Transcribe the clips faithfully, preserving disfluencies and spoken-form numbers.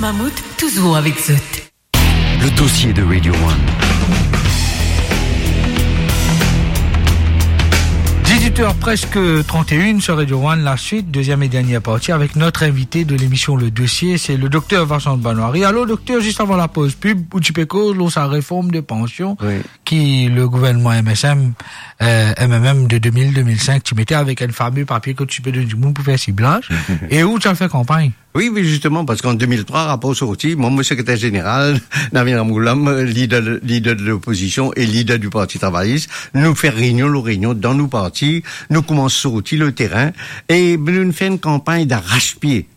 Mammouth, toujours avec zot. Le dossier de Radio One. Dix-huit heures presque trente et une sur Radio One, la suite, deuxième et dernière partie avec notre invité de l'émission Le Dossier, c'est le docteur Vincent Banoiri. Alors, docteur, juste avant la pause pub, ou ti pe koz lor sa réforme de pension, oui, ki le gouvernement M S M, euh, M M M de deux mille, deux mille cinq, ti mete avek enn fame papie ki ti pe donn dimoun pou fer siblaz, e ou ti al fer kanpagn. Oui, oui, justement, parce qu'en deux mille trois, rapport sorti, moi, mon secrétaire général, Navin Ramgoolam, leader, leader de l'opposition et leader du Parti travailliste, nou fer réunion lor réunion dan nou parti, nou koumans sorti lor terin, e nou fer enn kanpagn d'arrache-pied,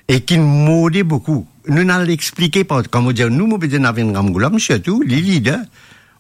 e ki morde boukou. Nou al explike, par, kan mo dir nou, mo pe dir Navin Ramgoolam, sirtou, li leader,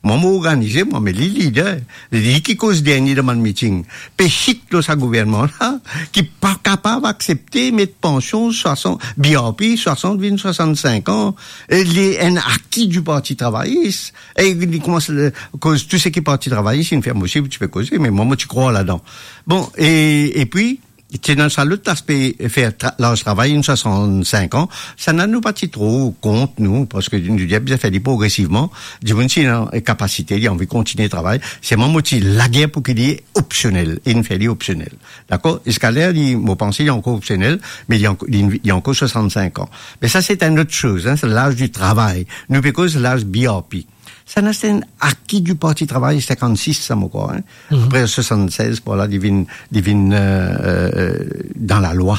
mwa, mo organize, mwa, me li leader, li ki koz dernie dan bann meeting. Pe hit lor sa gouvernman la, ki pa kapav aksepte met pansion swasant, B R P, swasant vinn swasant-sink an, e li enn aki du Parti travailliste, e li koumans, euh, koz tou seki Parti travailliste inn fer, mo osi ti pe koze, me mwa, mo ti krwar ladan. Bon, e, e pi, ti ena sa lot aspe, fer tra-, laz travay, enn swasant-sink an, sa nou pa ti tro kont, nou, parski nou dir bizin fer li progresivman, dimoun si ena kapasite, li anvi kontigne travay, selman mo ti lager pou ki li opsionel, e inn fer li opsionel. Dakor? Ziska ler, li, mo panse li ankor opsionel, me li anko-, li, li ankor swasant-sink an. Me sa, se enn lot soz, hein, se laz di travay. Nou pe koz laz B R P. Sa ena, se enn aki di Parti Travay, sinkant-sis, sa, mo krwar, hein. Mhm. Apre swasant-sez, par la, li vinn, li vinn, euh, euh, dan lalwa.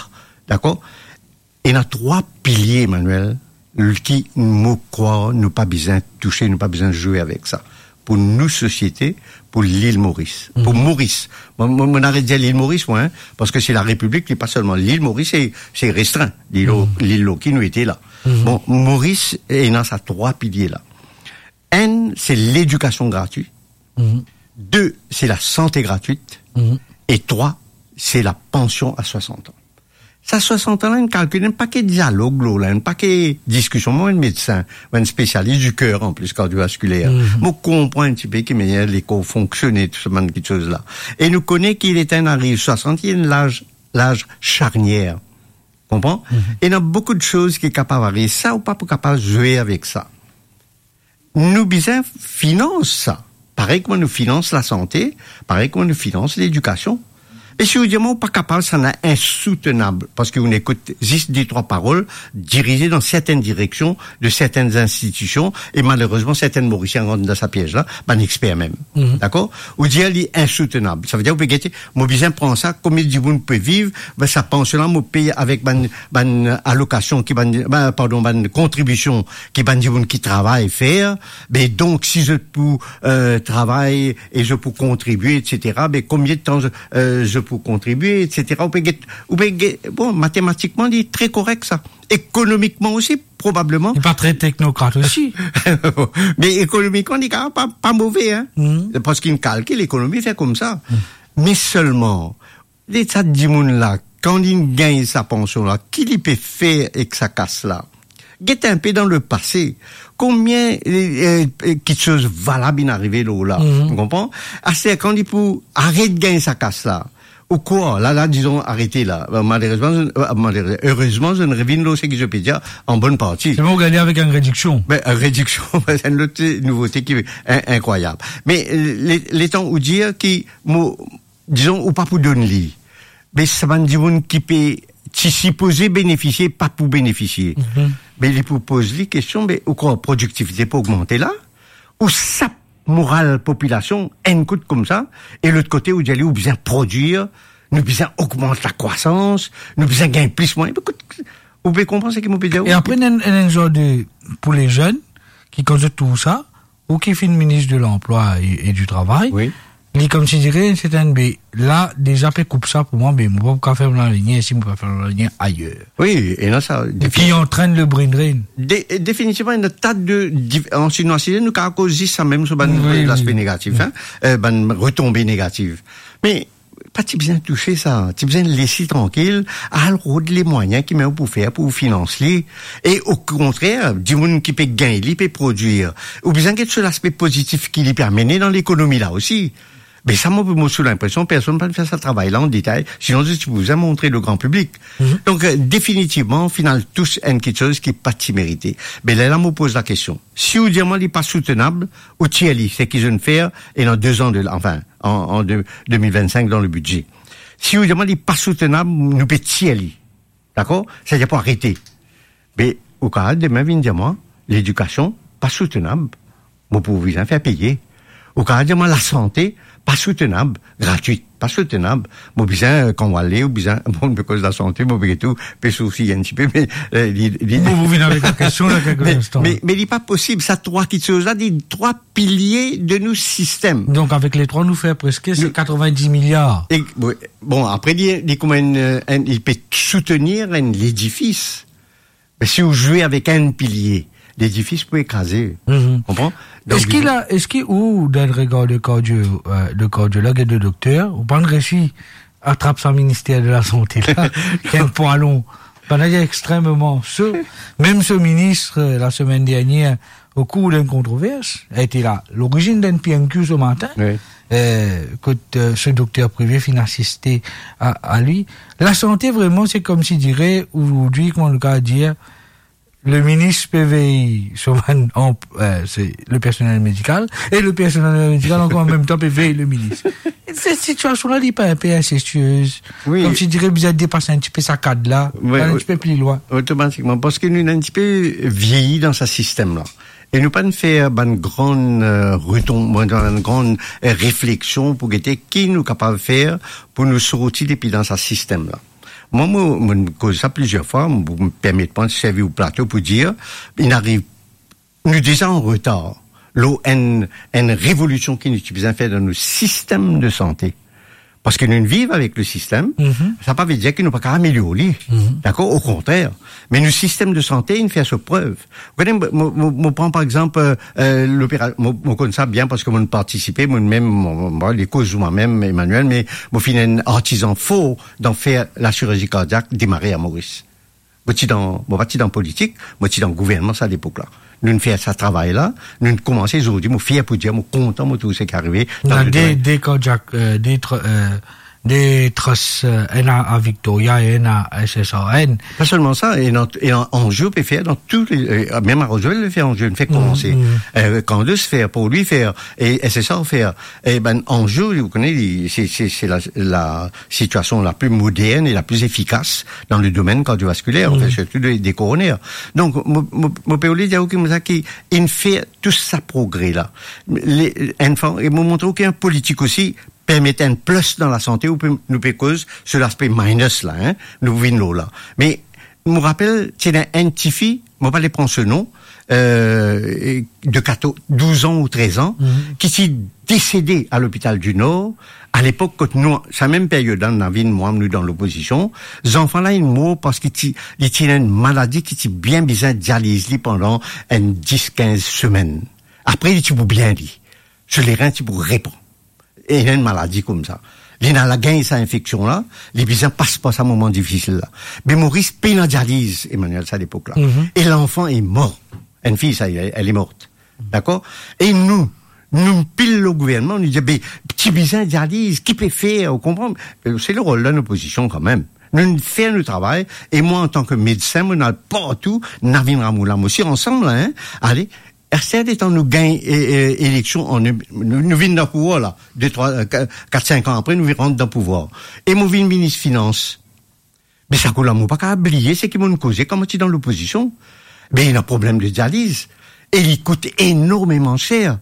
Dakor? Ena trwa pilie, Emmanuel, ki, mo krwar, nou pa bizin touse, nou pa bizin zwe avek sa. Pou nou sosiete, pou Lil Moris. Pou Moris. Mo, mo, mo aret dir Lil Moris, mwa, hein, parski se larepiblik, li pa selman Lil Moris, se, se restrin, lil, lil lor ki nou ete la. Bon, Moris ena sa trwa pilie la. Enn, se ledikasion gratwit. De, se lasante gratwit. E trwa, se lapansion a swasant an. Sa swasant an la, inn kalkil, ena enn pake dialog lor la, ena enn pake diskision. Mwa, enn medsin, mwa, enn spesialis di ker, an plis, kardiovaskiler. Mo konpran enn tipe ki manier lekor fonksione, tou sa bann kiksoz la. E nou kone ki letan inn ariv swasant, ena enn laz, laz sarnier. Konpran? Ena boukou de soz ki kapav ariv. Sa, ou pa pou kapav zwe avek sa. Nou bizin finans sa. Parey kouma nou finans lasante, parey kouma nou finans ledikasion. E si ou dir mwa ou pa kapav, sa ena insoutenab, parski ou ekout zis de trwa parol dirize dan sertenn direksion de sertenn institision, e malerezman, sertenn Morisien rant dan sa piez la, bann exper mem. Dakor? Ou dir li insoutenab. Savedir ou pe gete, mo bizin pran sa, komie dimoun pe viv, be sa pansion la, mo pey avek bann, bann alokasion ki bann, be, pardon, bann kontribision ki bann dimoun ki travay fer, be donk, si zot pou, euh, travay e zot pou kontribie, et cetera, be konbien de tan zot, euh, zot pou kontribie, et cetera. Ou pe get, ou pe get, bon, matematikman, li tre korek, sa. Ekonomikman osi, probableman. Li pa tre teknokrat osi. Me ekonomikman, li kapav pa, pa move, hein. Parski inn kalkil ekonomi fer koumsa. Me selman, li sa dimoun la, kan li gagn sa pansion la, ki li pe fer ek sa kas la? Get enpe dan lepase, konbien, euh, euh, kiksoz valab inn arive lor la, ou konpran? Aster, kan li pou aret gagn sa kas la, ou krwar, la, la, dizon, arete la. Malerezman, zot, euh, malerez-, erezman, zot inn revinn lor seki zot pe dir an bonn parti. Se bon, gagn avek enn rediksion. Be, enn rediksion, be, se enn lot nouvote ki in-, inkrwayab. Me, euh, le-, letan ou dir ki mo, dizon, ou pa pou donn li. Me sa bann dimoun ki pe, ti sipoze benefisie, pa pou benefisie. Me li pou poz li kestion, me ou krwar prodiktivite pou ogmante la? Ou sap moral popilasion enn kout koumsa, e lot kote ou dir li ou bizin prodwir, nou bizin ogmant lakrwasans, nou bizin gagn plis mwayin. Ekout, ou pe konpran seki mo pe dir ou? E apre, ena enn, enn, enn zor de, pou le zenn, ki kan zot trouv sa, ou ki finn minis de lanplwa e, e di travay, li konsidere, se enn, be, la, deza pe koup sa pou mwa, be, mo pa pou kapav fer mo lavenir isi, mo pa fer mo lavenir ayer. Wi, ena sa, e ki antrenn le brain drain. De-, definitivman, ena ta de div-, an sinwa, si nou kapav koz zis sa mem, so bann laspe negatif, hein, euh, bann retonbe negatif. Me pa ti bizin touse sa, ti bizin les li trankil, al rod le mwayin ki mem ou pou fer pou finans li. E okontrer, dimoun ki pe gagn li, pe prodwir. Ou bizin get so laspe pozitif ki li pe amene dan lekonomi la osi. Me sa, mo, mo sou linpresion personn pa fer sa travay la an detay, sinon zot ti pou bizin montre le gran piblik. Mhm. Donk, euh, definitivman, final tous enn kiksoz ki pa ti merite. Me lerla mo poz lakestion. Si ou dir mwa li pa soutenab, ou tir li, seki zot inn fer, e dan de zan de la, anfin, an, an de, de mil vinn-sink dan le bidze. Si ou dir mwa li pa soutenab, nou pe tir li. Dakor? Setadir pou arete. Me ou kapav demin vinn dir mwa, ledikasion, pa soutenab. Mo pou bizin fer peye. Ou kapav dir mwa, lasante, pa soutenab, gratwit, pa soutenab. Mo bizin, euh, kan mo ale, ou bizin, bon, mo pe koz lasante, mo pe tou, pe sousir enn tipe, me, euh, li, li Bon, mo vinn avek lakestion la, kelke me, instan. Me, me li pa posib, sa trwa kiksoz la, li trwa pilie de nou sistem. Donk, avek le trwa, nou fer preske, se Nou katrevin-dis miliar. E, wi, bon, apre, li, li kouma enn, euh, enn, li pe soutenir enn ledifis. Me si ou zwe avek enn pilie, ledifis pou ekraze. Mhm. Konpran? Donk, Eski la, eski ou, dan le regar de kardio, euh, de kardiolog e de dokter, ou pa'nn resi atrap sa minister de lasante la, ki enn pwalon, pandan li extrememan so. Mem so minis, euh, lasemenn dernier, o kour d'enn kontrovers, ete la lorizinn d'enn P M Q so matin, Wi. euh, kot, euh, so dokter prive finn asiste a, a li. Lasante, vreman, se koumsi dire, ozordi, kouma nou kapav dir, le minis pe vey so bann anp-, euh, se le personel medikal, e le personel medikal ankor an mem tan pe vey le minis. Set sitiasion la, li pa enpe insestiez? Wi. Koumsi dire bizin depas enn tipe sa kad la, Wi, al enn wi. tipe pli lwin. Otomatikman, parski nou ena enn tipe vieyi dan sa sistem la. E nou pa'nn fer bann gran, euh, reton-, bann gran, euh, refleksion pou gete ki nou kapav fer pou nou sorti depi dan sa sistem la. Mwa, mo, mo koz sa plizier fwa, mo, mo permet mwa servi ou plato pou dir, inn ariv, nou deza an retar lor enn, enn revolision ki nou ti bizin fer dan nou sistem de sante. Parski nou viv avek le sistem, Mhm. sa pa ve dir ki nou pa kapav amelior li. Mhm. Dakor? Okontrer. Me nou sistem de sante, inn fer so prev. Ou kone, mo, mo, mo pran par exanp, euh, euh, lopera-, mo, mo konn sa bien parski mo'nn partisipe, mo mem, mo, mo, mo, li koz mwa mem, Emmanuel, me mo finn enn artizan for dan fer lasirurzi kardiak demare a Moris. Mo ti dan, mo pa ti dan politik, mo ti dan gouvernman sa lepok la. Nou'nn fer sa travay la, nou'nn koumans, zordi mo fier pou dir, mo kontan, mo trouv seki arive dan Ena le de, domenn. de kardiak, euh, de tr-, euh, de trust, euh, ena a Victoria, ena a S S R N. Pa selman sa, ena, ena Anjou pe fer dan tou le, euh, mem a Roswell pe fer Anjou, nou fer Mm, komanse. mm. Euh, Candace fer, Paul fer, e S S R fer. E bann Anjou, ou kone, li, se, se, se la, la sitiasion la pli modern e la pli efikas dan le domenn kardiovaskiler, Mm. anfin, sirtou de, de koroner. Donk, mo, mo, mo pe oule dir ou koumsa ki inn fer tou sa progre la. Le, enn fwa, e mo montre ou ki enn politik osi, permet enn plus dan lasante, ou pe, nou pe koz sir laspe minus la, hein, nou vinn lor la. Me mo rapel, ti ena enn tifi, mo pa le pran so non, euh, de katorz, douz an ou trez an, Mhm. ki ti desede a Lopital di Nor, a lepok kot nou, sa mem period la, nou ena vinn mwa, nou dan lopozision, zanfan la inn mor parski ti, li ti ena enn maladi ki ti bien bizin dializ li pandan enn dis, kinz semenn. Apre, li ti pou bien li. So lerin ti pou repran. Ena enn maladi koumsa. Li ena la gagn sa infeksion la, li bizin pas par sa moman difisil la. Me Moris pena dializ, Emmanuel, sa lepok la. Mhm. E lanfan est mort. Enn fiy, sa, elle, elle est morte. Dakor? E nou, nou pil lor gouvernman, nou dir, "Be, ti bizin dializ, ki pe fer?" Ou konpran? Se le rol de lopozision kanmem. Nou, nou fer nou travay, e mwa, antan ki medsin, mo al partou, nou vinn ramoul la, mo osi ansam la, hein. Ale, aster letan nou gagn, e, e, eleksion an, nou, nou vinn dan pouvwar la, de, trwa, e, ka-, kat, sink an apre, nou vinn rant dan pouvwar. E mo vinn minis finans. Me sa kou la, mo pa kapav bliye seki mo'nn koze kan mo ti dan lopozision. Be, ena problem de dializ. E li kout enormeman ser.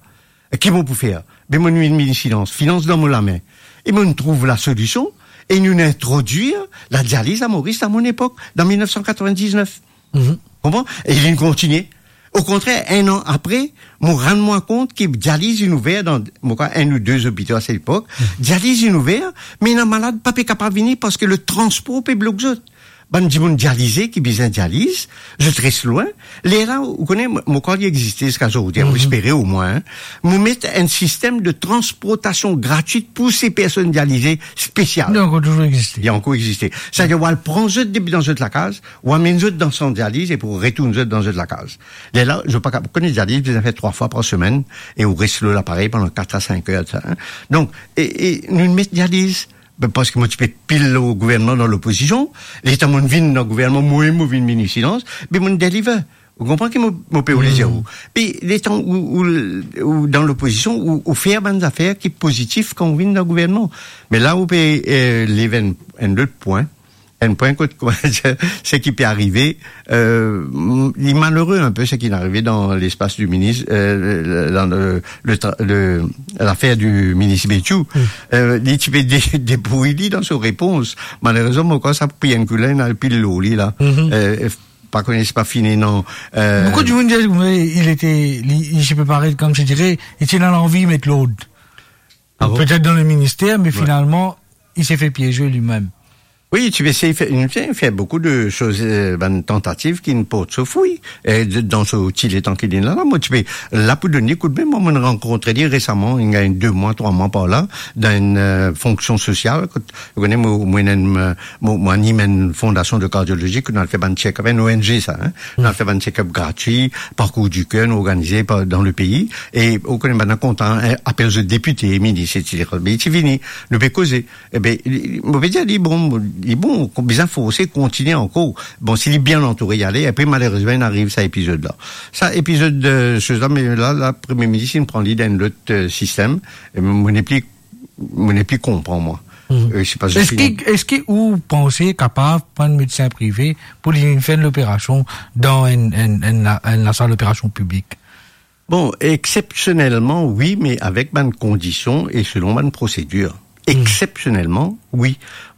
Ki mo pou fer? Be, mo'nn vinn minis finans, finans dan mo lame. E mo'nn trouv lasolision, e nou'nn introdwir ladializ a Moris dan mo lepok, dan mil nef san katrevin-diznef. Mhm. Konpran? E linn kontigne. Okontrer, enn an apre, mo rann mwa kont ki dializ inn ouver dan, mo krwar, enn ou de lopitalo a set lepok. Mhm. Dializ inn ouver, me ena malad pa pe kapav vini parski le transpor pe blok zot. bann dimoun dialize ki bizin dializ, zot res lwin. Lerla, ou kone, mo, mo krwar li existe ziska zordi, mo espere omwin, hein. Mo met enn sistem de transportasion gratwit pou se personn dialize spesial. Li ankor touzour existe. Li ankor existe. Setadir, ou al pran zot depi dan zot lakaz, ou amenn zot dan sant dializ e pou retourn zot dan zot lakaz. Lerla, zot pa kap-, kone dializ bizin fer trwa fwa par semenn e ou res lor laparey pandan kat a sink er, sa, hein. Donk, e, e nou met dializ, be, parski mo ti pe pil lor gouvernman dan lopozision, letan mo vinn dan gouvernman, mwa mem mo vinn minis finans, be mo deliver. Ou konpran ki mo, mo pe voule dir ou. Be letan ou, ou, ou dan lopozision, ou, ou fer bann zafer ki pozitif kan ou vinn dan gouvernman. Me la ou pe, eh, lev enn, enn lot pwin, enn pwin kot, kouma dir, seki pe arive, eh, m-, li malere inpe seki inn arive dan lespas di minis, eh, le, le, le tra-, le, lafer di minis Betiou. Eh, li ti pe de-, debrouy li dan so repons. Malerezman, mo krwar sa pran enn kou la, inn al pil lor li la. Eh, pa kone si pa fini, non. Eh, Beaucoup de monde disent, mais il était, il, il se préparait, comme je dirais, il était dans l'envie de mettre l'ordre. Ah bon? Peut-être dans le ministère, mais finalement, il s'est fait piéger lui-même. Wi, ti pe esey fer, inn fer, fer boukou de soz, eh, bann tantativ ki inn port so frwi, eh, de, dan so ti letan ki li ena la. Mo ti pe la pou donn li koudme, mwa, mo rankontre li resaman, inn gagn de mwa, trwa mwa par la, dan enn, eh, fonksion sosial, kot, ou kone, mo, mo ena enn, eh, mo, mo anim enn fondasion de kardiolozi, kot nou al fer bann check-up, enn O N G sa, hein. Nou al fer bann check-up gratwi, parkour di ker, nou organize par, dan lepei, e ou kone, bann la kontan, eh, apel zot depite, minis, et cetera. Me li ti vini, nou pe koze. Ebe, li, mo pe dir li, bon, li bon, bizin forse, kontigne ankor. Bon, si li bien antoure, ale, apre, malerezman, inn ariv sa epizod la. Sa epizod, eh, soz la, me la, la, Premie Minis, inn pran li dan enn lot, eh, sistem. E mo nepli, mo nepli konpran, mwa. Eh, se pa Eski, eski ou panse kapav pran enn medsin prive pou li vinn fer enn loperasion dan enn, enn, enn la, enn lasal loperasion piblik? Bon, exceptionnellement, wi, me avek bann kondision e selon bann prosedir. Exceptionnellement, wi.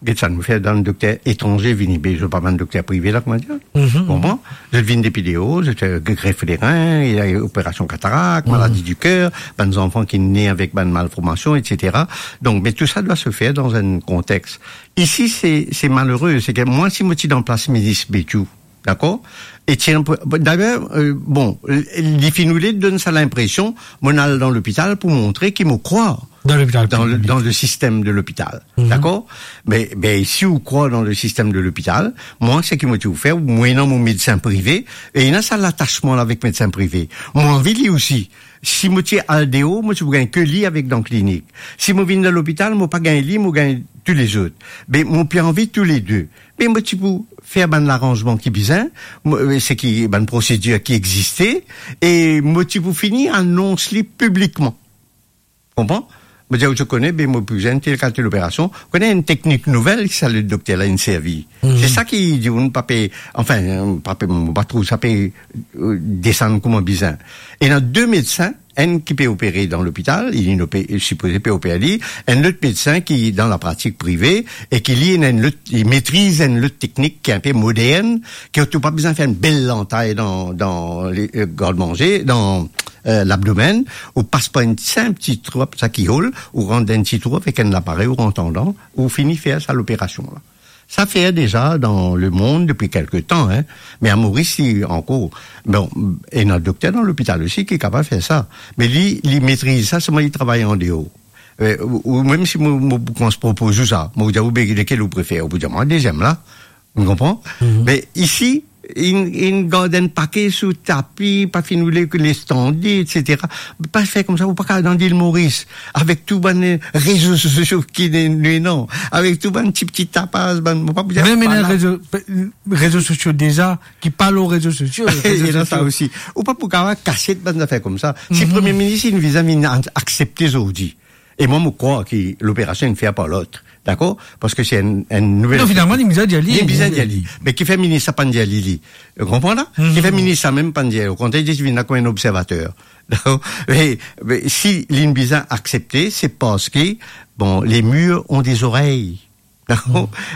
Get sa nou fer, bann dokter etranze vini, be zot pa bann dokter prive la, kouma dir? Konpran? Zot vinn depi deor, zot, eh, gref de rin, operasion katarak, maladi di ker, bann zanfan ki ne avek bann malformasion, et cetera. Donk, me tou sa dwa se fer dan enn kontex. Isi, se, se malere, se ke mwa, si mo ti dan plas minis Betiou, dakor? E ti enn pr-, dayer, eh, bon, li finn oule donn sa linpresion, mo al dan lopital pou montre ki mo krwar dan lopital dan le, piblik, dan le sistem de lopital. Dakor? Me, be, si ou krwar dan le sistem de lopital, mwa, seki mo ti pou fer, mo ena mo medsin prive, e ena sa latasman la avek medsin prive. Mo anvi li osi. Si mo ti al deor, mo ti pou gagn ke li avek dan klinik. Si mo vinn dan lopital, mo pa gagn li, mo gagn tou lezot. Be, mo pe anvi tou le de. Me mo ti pou fer bann laranzman ki bizin, mo, eh, seki bann prosedir ki existe, e mo ti pou fini anons li piblikman. Konpran? Mo dir, ou ti kone, be mo pou bizin tel kalite loperasion. Kone enn teknik nouvel ki sa ledokter la inn servi. Se sa ki dimoun pa pe, anfin, pa pe, mo pa trouv sa pe, eh, desann kouma bizin. Ena de medsin, enn ki pe opere dan lopital, li, li pe, sipoze pe opere li, enn lot medsin ki dan lapratik prive, e ki li ena enn lot, li metriz enn lot teknik ki inpe modern, ki ou pa bizin fer enn bel lantay dan, dan le, eh, gardmanze, dan, eh, labdomenn, ou pas par enn sinp ti trou, sa ki hol, ou rant dan enn ti trou avek enn laparey, ou rant andan, ou fini fer sa loperasion la. Sa fer deza dan lemond depi kelke tan, hein. Me a Moris, si ankor, bon, ena dokter dan lopital osi ki kapav fer sa. Me li, li metriz sa, selman li travay andeor. Eh, ou, ou mem si mo, mo koumans propoz ou sa, mo dir ou, be, lekel ou prefer? Ou pou dir mwa deziem la. Ou konpran? Me isi, inn, inn gard enn pake sou tapi, pa finn oule ke les tande, et cetera. Pa fer koumsa, ou pa kapav dan Lil Moris, avek tou bann, eh, rezo sosio ki ne, ne, non, avek tou bann ti, ti tapaz, bann, mo pa pou dir, mem ena rezo, rezo sosio deza, ki pa lor rezo sosio, rezo sosio. Ena sa osi. Ou pa pou kapav kasiet bann zafer koumsa. Si Premie Minis inn bizin vinn aksepte zordi, e mwa, mo krwar ki loperasion inn fer par lot, dakor? Parski se enn, enn nouvel... Non, finalman, li bizin dir li. Li bizin dir li. Me kifer minis la pa'nn dir li, li? Ou konpran la? Kifer minis la mem pa'nn dir? Okontrer, li ti vinn la kouma enn observater. Dakor? Me, me si linn bizin aksepte, se parski, bon, les murs ont des oreilles.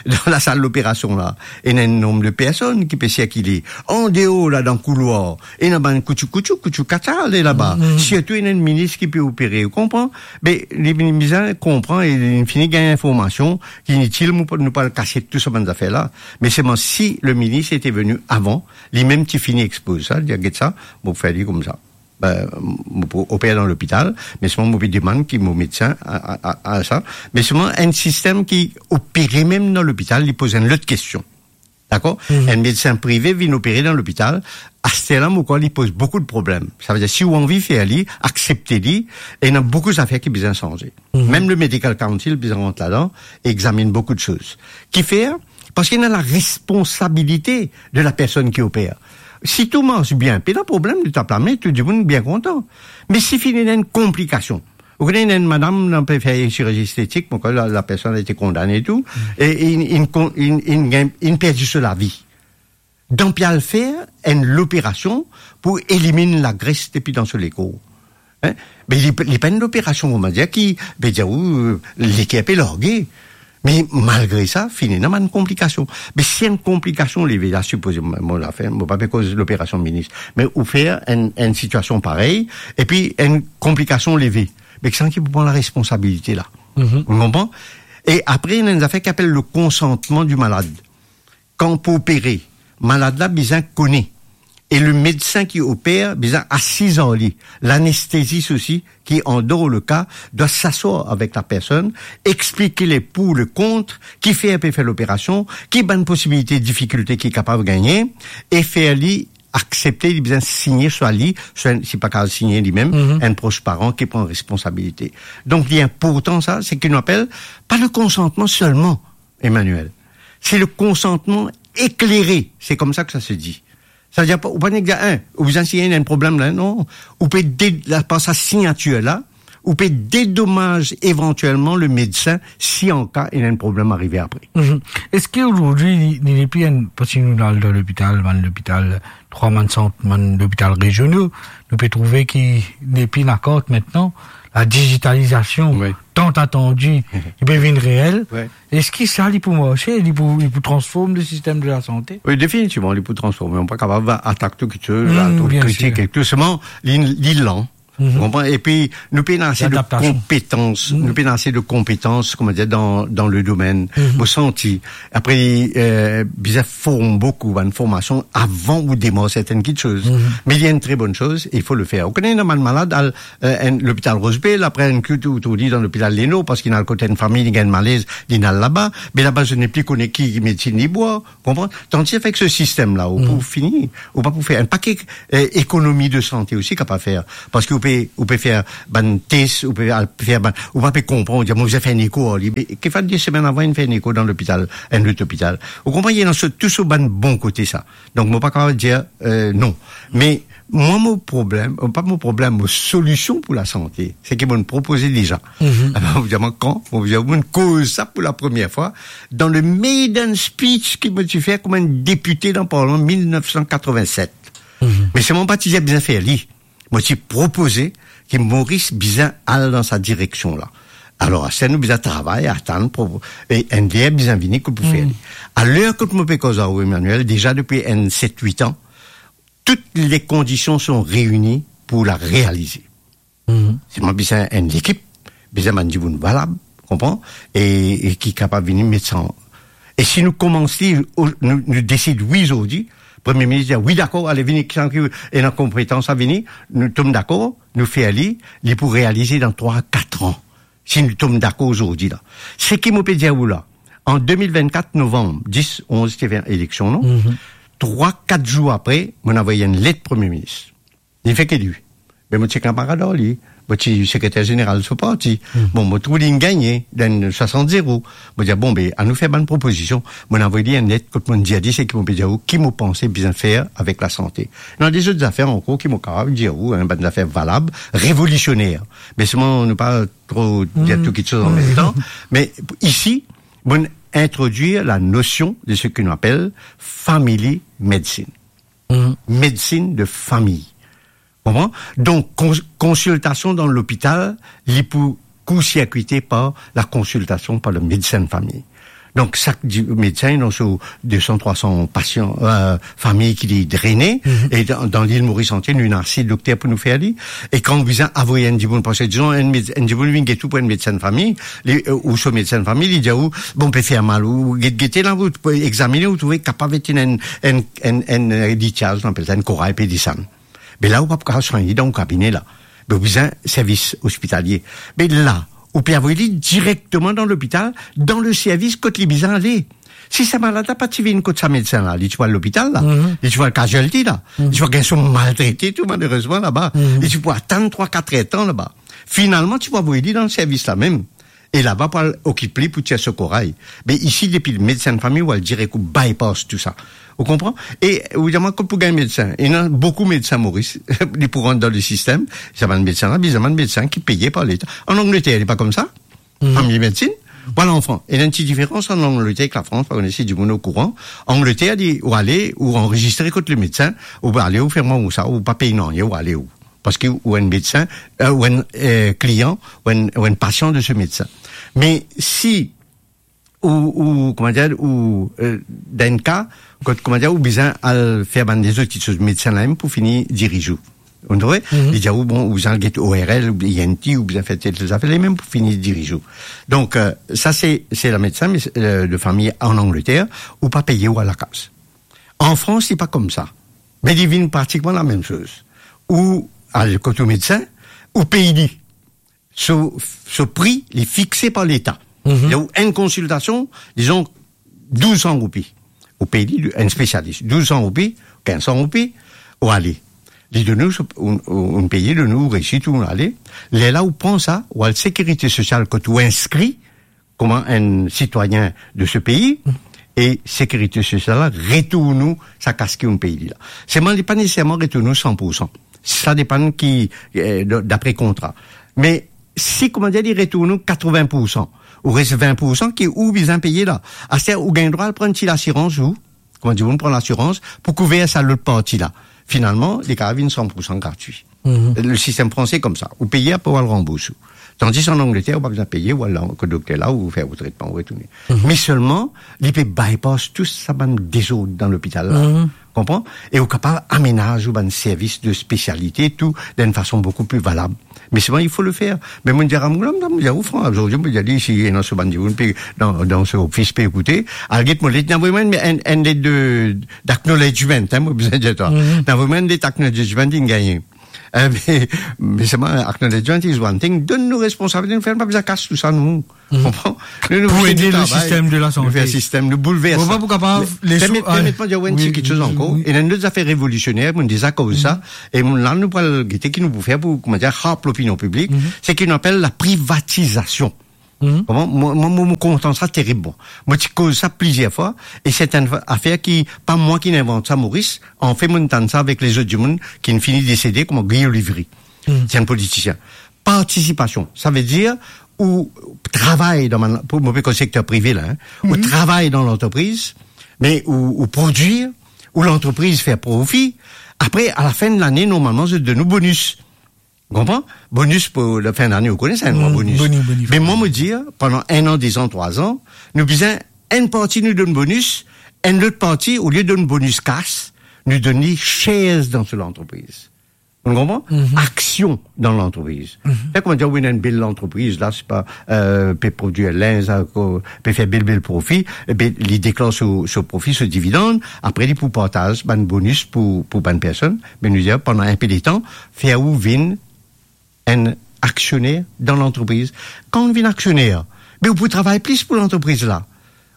Dan lasal loperasion la, ena enn nonb de personn ki pe sirkile. Andeor la, dan koulwar, ena bann koutchou koutchou, koutchou katale laba. Sirtou ena enn minis ki pe opere, ou konpran? Be, li, li bizin konpran e li fini gagn informasion ki initil, nou pa, nou pa al kasiet tou sa bann zafer la. Me selman si le minis ete veni avan, li mem ti fini expoz sa, dir, "Get sa, mo fer li koumsa." Be, mo pou oper dan lopital, me selman mo pe demann ki mo medsin a, a, a, a sa. Me selman enn sistem ki opere mem dan lopital, li poz enn lot kestion. Dakor? Enn medsin prive vinn opere dan lopital, aster la, mo krwar li poz boukou de problem. Savedir, si ou anvi fer li, aksepte li, e ena boukou zafer ki bizin sanze. Mem le Medical Council bizin rant ladan, e examinn boukou de soz. Kifer? Parski ena la responsabilite de la personn ki oper. Si tou mars bien, pena problem, li tap lame, tou dimoun bien kontan. Me si finn ena enn konplikasion, ou kone, ena enn madam, nou pe fer sirurzi estetik, mo krwar la, la personn ete kondane e tou, e inn, inn kon-, inn, inn gagn, inn perdi so lavi. Dan pe al fer enn loperasion pou eliminn lagres depi dan so lekor. Hein? Me li, li pa enn loperasion, kouma dir, ki pe dir ou, leker pe large. Me malgre sa, finn ena bann konplikasion. Me si enn konplikasion leve, la, sipoze mo, mo lafer, mo pa pe koz loperasion minis, me ou fer enn, enn sitiasion parey, epi enn konplikasion leve, me kisannla ki pou pran laresponsabilite la? Ou konpran? E apre, ena enn zafer ki apel le konsantman di malad. Kan pou opere, malad la bizin kone, e le medsin ki oper bizin asiz ar li. Lanestezis osi, ki andor le ka, dwa saswar avek la personn, explike le pou, le kont, kifer pe fer loperasion, ki bann posibilite, difikilte ki kapav gagne, e fer li aksepte, li bizin signe, swa li, swa si pa kapav signe li mem, enn pros paran ki pran responsabilite. Donk, li inportan sa, seki nou apel pa le konsantman selman, Emmanuel. Se le konsantman eklere, se koumsa ki sa se di. Savedir, ou pa nek dir, hein, ou bizin sign, ena enn problem la, non. Ou pe de-, la, par sa signatir la, ou pe dedomaz evantielman le medsin si an ka ena enn problem arive apre. Eski azordi, li, li nepli enn, parski nou al dan lopital, bann lopital, trwa bann sant, bann lopital reziono, nou pe trouve ki nepli lakart aster, la digitalizasion, tan atandi, ki pe vinn reel. Eski sa, li pou marse, li pou, li pou transform le sistem de la sante? Wi, definitivman, li pou transforme. Ou pa kapav atak tou kiksoz, kritik e tou. Selman, li, li lan. Ou konpran? Epi, nou pena ase de konpetans, nou pena ase de konpetans, kouma dir, dan, dan le domenn. Mo santi, apre, euh, bizin form boukou, bann formasion avan ou demar sertenn kiksoz. Me li enn tre bonn soz, il faut le faire. Ou kone, ena bann malad al, euh, enn lopital Rose Bay, apre enn kou ou trouv li dan lopital Leno, parski li al kot enn fami, li gagn malez, li al laba, me laba, zot nepli kone ki medsin li bwar, konpran? Tandis avek se sistem la, ou pou fini, ou pa pou fer enn pake, euh, ekonomi de sante osi kapav fer, parski ou pe, ou pe fer bann tes, ou pe al fer bann, ou pa pe konpran, ou dir, "Mo, mo fer enn eko ar li." Me ki fer de semenn avan, inn fer enn eko dan lopital, enn lot lopital. Ou konpran, ena so, tou so bann bon kote sa. Donk, mo pa kapav dir, euh, non. Me mwa, mo problem, pa mo problem, mo solision pou lasante, seki mo'nn propoze deza. Mo dir, mwa, kan, mo dir, mo'nn koz sa pou lapremier fwa dan le maiden speech ki mo ti fer kouma enn depite dan Parlman mil nef san katrovin-set. Me selman mo pa ti dir bizin fer li. Mo ti propoze ki Moris bizin al dan sa direksion la. Alor, aster nou bizin travay, atann, propo-, e enn ler bizin vini kot pou fer li. Aler kot mo pe koz ar ou, Emmanuel, deza depi enn set, wit an, tout le kondision son reini pou la realize. Selman bizin enn lekip, bizin bann dimoun valab, konpran? E, e ki kapav vini met sa an. E si nou koumans li, o-, nou, nou desid wi zordi, Premie Minis dir, "Wi, dakor, ale vini, kisann ki ena konpetans a vini," nou tom dakor, nou fer li, li pou realize dan trwa, kat an. Si nou tom dakor zordi la. Seki mo pe dir ou la, an de mil vinn-kat, novanm, dis, onz, ti ena eleksion, non? Trwa, kat zour apre, mo'nn avoy enn let Premie Minis. Li fer ki li. Be mo ti kanmarad ar li. Mo ti sekreter zeneral so parti. Bon, mo trouv li'nn gagne, dan swasant zero. Mo dir, "Bon, be, anou fer bann propozision." Mo'nn avoy li enn let kot mo'nn dir li seki mo pe dir ou, ki mo panse bizin fer avek lasante. Ena de zot zafer ankor ki mo kapav dir ou, hein, bann zafer valab, revolisioner. Me selman, nou pa tro dir tou kiksoz an mem tan. Me isi, mo'nn introdwir la nosion de seki nou apel family medicine. Medsin de fami. Konpran? Donk, kons-, konsiltasion dan lopital, li pou koursirkwite par la konsiltasion par le medsin de fami. Donk, sak di-, medsin, ena so de san, trwa san pasian, euh, fami ki li drene, e dan, dan lil Moris antie, nou ena ase dokter pou nou fer li. E kan ou bizin avoy enn dimoun, parski, dizon, enn med-, enn dimoun vinn get ou pou enn medsin fami, li, euh, ou so medsin fami, li dir ou, bon, pe fer mal, ou get, gete la, ou pou examine, ou trouve kapav ena enn, enn, enn, enn, euh, litiaz, nou apel sa enn koray pe desann. Me la, ou pa pou kapav swagn li dan ou kabine la. Me ou bizin servis ospitalie. Me la, ou pe avoy li direkteman dan lopital, dan le servis kot li bizin ale. Si sa malad la pa ti vinn kot sa medsin la, li ti pou al lopital la, li ti pou al casualty la, li ti pou al gagn so maltrete tou, malerezman, laba. Li ti pou atann trwa, kat er tan laba. Finalman, ti pou avoy li dan servis la mem. E laba pou al okip li, pou tir so koray. Me isi, depi medsin fami, ou al direk, ou bypass tou sa. Ou konpran? E ou dir mwa, kot pou gagn medsin? Ena boukou medsin Moris, li pou rant dan le sistem. Sa bann medsin la, bizin bann medsin ki peye par Leta. An Angleter, li pa koumsa. Fami medsin. Ou al an Fran-, ena enn ti diferans ant Angleter ek Lafrans, pa kone si dimoun okouran. Angleter, li, ou ale, ou anrezistre kot le medsin, ou ale, ou fer mwa ou sa, ou pa pey nanye, ou ale ou. Parski ou enn medsin, euh, ou enn, euh, klian, ou enn, ou enn pasian de se medsin. Me si ou, ou, kouma dir, ou, euh, dan enn ka, kot, kouma dir, ou bizin al fer bann lezot kiksoz, medsin la mem pou fini diriz ou. Ou trouve? Li dir ou, bon, ou bizin al get O R L, ou I N T, ou bizin fer tel, tel zafer, li mem pou fini diriz ou. Donk, euh, sa se, se la medsin, me, euh, de fami an Angleter, ou pa peye, ou al lakaz. An Frans, li pa koumsa. Me li vinn pratikman lamem soz. Ou al kot ou medsin, ou pey li. So, so pri, li fixe par Leta. Li donn ou enn konsiltasion, dizon, douz san roupi. Ou pey li, enn spesialis, douz san roupi, kinz san roupi, ou ale. Li donn ou so, ou, ou, ou peye, donn ou resi, ou ale. Lerla ou pran sa, ou al Sekirite Sosial kot ou inskri, kouma enn sitwayin de se pei, e Sekirite Sosial la retourn ou sa kas ki ou'nn pey li la. Selman, li pa neseserman retourn ou san pou san. Sa depann ki, eh, d-, dapre kontra. Me si, kouma dir, li retourn ou katrevin pou san, ou res vin pou san ki ou bizin peye la. Aster, ou gagn drwa al pran ti lasirans ou, kouma dir, ou pran lasirans pou kouver sa lot parti la. Finalman, li kapav vinn san pou san gratwi. Le sistem franse koumsa, ou peye, apre ou al ranbours ou. Tandis an Angleter, ou pa bizin peye, ou al la, kot dokter la, ou fer ou tretman, ou retourne. Me selman, li pe bypass tou sa bann dezord dan lopital la. Konpran? E ou kapav amenaz ou bann servis de spesialite, tou, dan enn fason boukou pli valab. Me selman, il faut le faire. Me mo'nn dir a mo lam, mo'nn dir, ou Fran, zordi, mo'nn dir li, si ena so bann dimoun pe, dan, dan so ofis pe ekoute, al get mo let, inn avoy mwa enn, enn, enn let de, d'acknowledgement, hein, mo bizin dir twa. Inn avoy mwa enn let acknowledgement, inn gagne. Eh, me, me selman, acknowledgement is one thing. Donn nou responsabilite, nou fer, nou pa bizin kas tou sa, nou. Konpran? Nou, nou pou ede le sistem de lasante. Nou fer sistem, nou boulvers sa. Bon, pa pou kapav, permet, permet mwa dir enn ti kiksoz ankor. Ena enn lot zafer revolisyoner, mo'nn deza koz sa, e mo'nn la, nou pou al gete ki nou pou fer pou, kouma dir, help lopinion piblik, seki nou apel la privatizasion. Koman? Mwa, mwa, mwa, mo kontan sa terib, mwa. Mo ti koz sa plizier fwa, e se enn afer ki, pa mwa ki'nn invant sa, Moris. Anfin, mo'nn tann sa avek lezot dimoun ki'nn fini desede, kouma Guy Olivry. Se enn politisien. Partisipasion, savedir ou travay dan bann, pou, mo pe koz sekter prive la, hein. Ou travay dan lantrepriz, me ou, ou prodwir, ou lantrepriz fer profi. Apre, a la fin de lane, normalman, zot donn ou bonis. Ou konpran? Bonis pou la fin dane, ou kone sa, enn bonis. Boni, boni. Me mwa, mo dir, pandan enn an, de zan, trwa zan, nou bizin, enn parti nou donn bonis, enn lot parti, olie donn bonis kas, nou donn li shares dan so lantrepriz. Ou konpran? Aksion dan lantrepriz. Fer kouma dir, ou ena enn bel lantrepriz la, se pa, euh, pe prodwir linz, euh, pe fer bel, bel profi, e ben, li deklar so, so profi, so dividann, apre li pou partaz bann bonis pou, pou bann personn, me nou dir, pandan enn pe letan, fer ou vinn enn aksioner dan lantrepriz. Kan ou vinn aksioner, be ou pou travay plis pou lantrepriz la.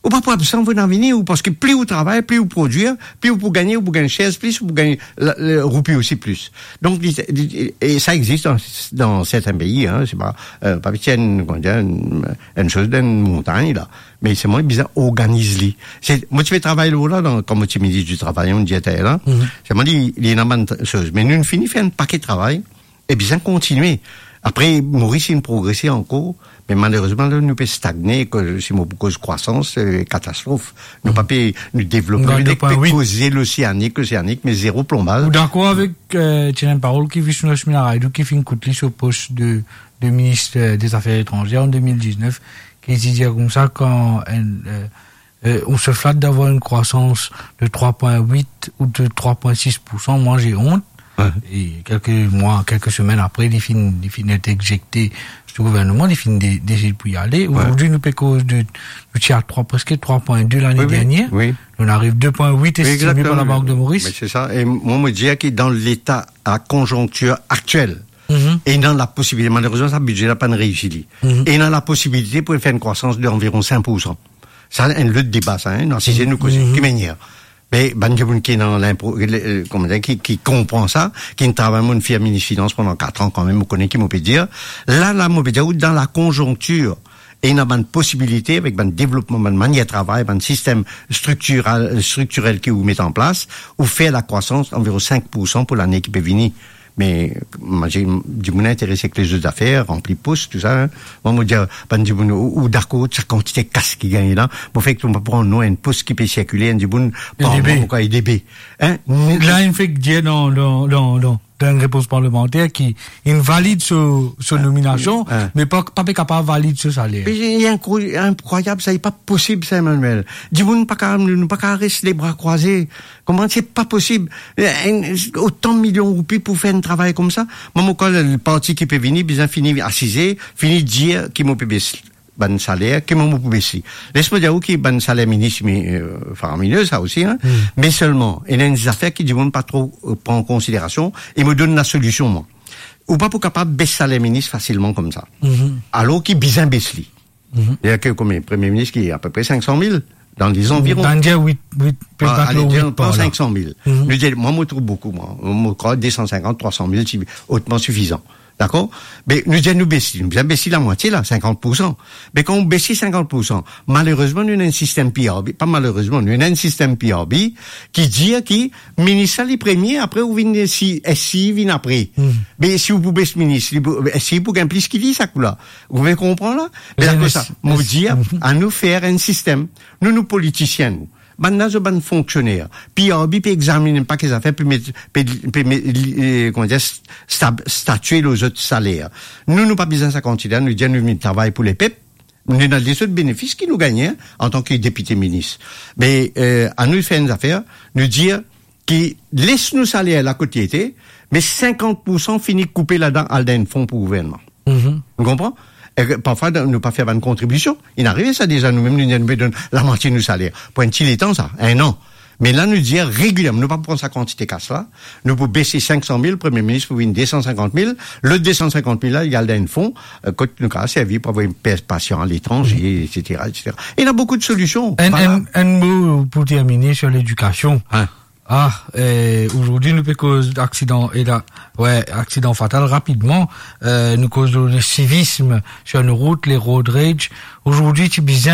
Ou pa pou absan, ou pou vinn vini, ou, parski pli ou travay, pli ou prodwir, pli ou pou gagne, ou pou gagn shares plis, ou pou gagn la, le, roupi osi plis. Donk, li, li, e sa existe dan, dan sertin pei, hein, se pa, euh, pa ti enn, kouma dir, enn, enn soz dan enn montagn la. Me selman bizin organiz li. Se, mo ti pe travay lor la, dan, kan mo ti minis di travay, on dir la. Selman li, li ena bann t-, soz. Me nou fini fer enn paket travay, e bizin kontinie. Apre, Moris inn progrese ankor, me malerezman, la, nou pe stagne, ke si mo pou koz krwasans, se katastrof. Nou pa pe, nou devlope, nou pe koze loseanik, loseanik, me zero plonbaz. Ou dakor avek, euh, ti ena enn parol ki Vishnu Lakshmi Naidu, ki finn kout li so pos de, de minis, euh, de zafer etranzer an de mil diznef, ki ti dir koumsa, kan enn, euh, Euh, on se flatte d'avoir une croissance de trois point huit ou de trois point six pour cent. Moi, j'ai honte. Ouais. Et quelques mois, quelques semaines après, li finn, li finn et exekte sou gouverneman, li finn de-, desid pou y ale. Ouais. Aujourd'hui, nou pe koz de, nou ti a trois, presque trois point deux l'année dernière. Oui, oui. On arrive deux point huit estimé par la Banque de Maurice. Mais c'est ça. Et moi, je dis que dans l'état, la conjoncture actuelle, mhm, et dans la possibilité, malheureusement, sa bidze la pa reisi li. Mhm. Et dans la possibilité pour faire une croissance d'environ cinq pour cent. Sa, enn lot deba sa, hein, nou asize, nou koze, mhm, ki manier. Me bann dimoun ki ena linpro-, le, euh, koman dir, ki, ki konpran sa, ki travay, mo finn fer minis finans pandan kat an kanmem, mo kone ki mo pe dir. La, la, mo pe dir, dan la konjonktir, ena bann posibilite avek bann devlopman, bann manier travay, bann sistem striktirel, striktirel ki ou met an plas, ou fer lakrwasans anviron cinq pour cent pour lane ki pe vini. Me, mo dir, dimoun interese ek lezot zafer, ranpli pos, tou sa, hein. Mwa, mo dir, bann dimoun, ou, ou dakor, sa kantite kas ki gagne la, mo fer ki nou pa pran non enn pos ki pe sirkile, enn dimoun, par mwa, mo krwar, E D B. Hein? La, inn fek dir dan, dan, dan, dan, dan enn repons parlemanter ki inn valid so, so nominasyon, hein, me pa, pa pe kapav valid so saler. Me li inkro-, inkrwayab sa, li pa posib sa, Emmanuel. Dimoun pa ka, nou pa ka res lebra krwaze. Koman se pa posib? Enn, otan milyon roupi pou fer enn travay koumsa? Mwa, mo krwar leparti ki pe vini, bizin fini asize, fini dir ki mo pe bes bann saler, ki mo, mo pou bes li. Les mo dir ou ki bann saler minis, mi-, euh, faramine sa osi, hein. Hmm. Me selman, ena enn zafer ki dimoun pa tro, euh, pran an konsiderasyon, e mo donn lasolision, mwa. Ou pa pou kapav bes saler minis fasilman koumsa. Mhm. Alor ki bizin bes li. Mhm. Sedir ki konbien, Premie Minis ki apepre cinq cent mille, dan lezanviron. Dan dir wit, wit, pe... Ah, ale, dir, pran cinq cent mille. Mhm. Nou dir, mwa, mo trouv boukou, mwa. Mo krwar deux cent cinquante, trois cent mille, se otman sifizan. Dakor? Me nou dir, nou bes li, nou bizin bes li lamwatie la, cinquante pour cent. Me kan ou bes li cinquante pour cent, malerezman, nou ena enn sistem P R B, pa malerezman, nou ena enn sistem P R B ki dir ki minis la li premie, apre ou vinn si, S C I vinn apre. Hmm. Me si ou pou bes minis, li pou, S C I pou gagn plis ki li, sa kou la. Ou pe konpran la? Me akoz sa, mo dir, anou fer enn sistem. Nou, nou politisien, nou. Bann la, zot bann fonksioner. P R B pe examine pa ki zafer, pe met, pe, pe met, li, eh, koman dir, stab-, statie lor zot saler. Nou, nou pa bizin sa kantite la, nou dir nou vinn travay pou lepep. Nou ena lezot benefis ki nou gagne, hein, antan ki depite, minis. Me, eh, anou fer enn zafer, nou dir ki les nou saler la kot li ete, me cinquante pour cent fini koupe ladan, al dan enn fon pou gouvernman. Mhm. Ou konpran? E parfwa, dan, nou pa fer bann kontribision. Inn arive sa deza, nou mem, nou, nou pe donn lamwatie nou saler. Pou enn ti letan sa, enn an. Me la, nou dir regilierman, nou pa pran sa kantite kas la, nou pou bes li cinq cent mille, Premie Minis pou vinn deux cent cinquante mille, lot deux cent cinquante mille la, li al dan enn fon, euh, kot nou kapav servi pou avoy pe-, pasian aletranze, mhm, et cetera, et cetera. Ena boukou de solision. Enn, voilà, enn, enn mo pou termine sur ledikasion. Hein. Ah, eh, aujourd'hui, nou pe koz aksidan, e la, ouais, aksidan fatal, rapidman, eh, nou koz le civisme sur nos routes, les road rage. Aujourd'hui, ti bizin